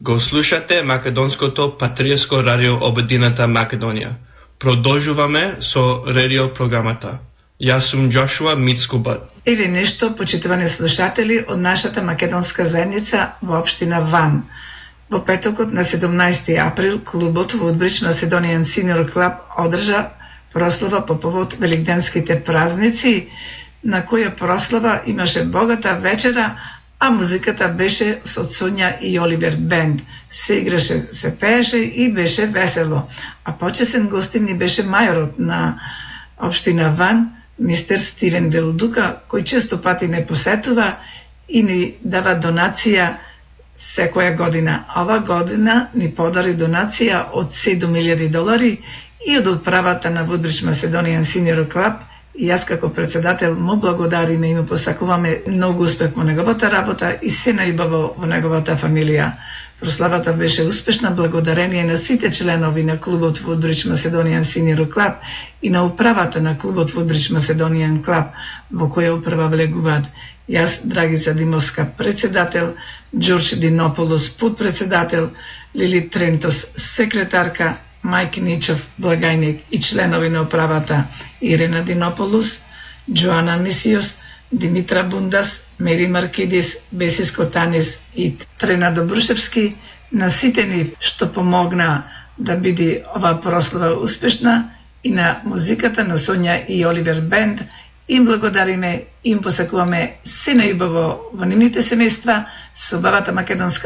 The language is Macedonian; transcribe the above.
Го слушате македонското патриотско радио Обединета Македонија. Продолжуваме со радио програмата. Јас сум Джошуа Мицкубат. Или нешто, почитувани слушатели, од нашата македонска заедница во општина Ван. Во петокот на 17 април клубот Woodbridge Macedonian Senior Club одржа прослава по повод великденските празници, на која прослава имаше богата вечера, а музиката беше со Сонја и Оливер Бенд. Се играше, се пееше и беше весело. А почесен гостин ни беше мајорот на општина Ван, мистер Стивен Делдука, кој често пати не посетува и ни дава донација секоја година. Ова година ни подари донација од $7,000 и од управата на Woodbridge Macedonian Senior Club. И јас како председател му благодариме и му посакуваме многу успех во неговата работа и се најубаво во неговата фамилија. Прославата беше успешна благодарение на сите членови на клубот Woodbridge Macedonian Senior Club и на управата на клубот Woodbridge Macedonian Club, во која управа влегуваат јас, Драгица Димовска, председател, Ѓорџ Динополос, подпредседател, Лили Трентос, секретарка, Мајк Ничов, благајник и членови на управата, Ирена Динополус, Джоана Мисиос, Димитра Бундас, Мери Маркидис, Бесиско Танис и Трена Добрушевски, на сите нив што помогна да биде ова прослава успешна, и на музиката на Сонја и Оливер Бенд. Им благодариме, им посакуваме се најубаво во нивните семејства, со убавата македонска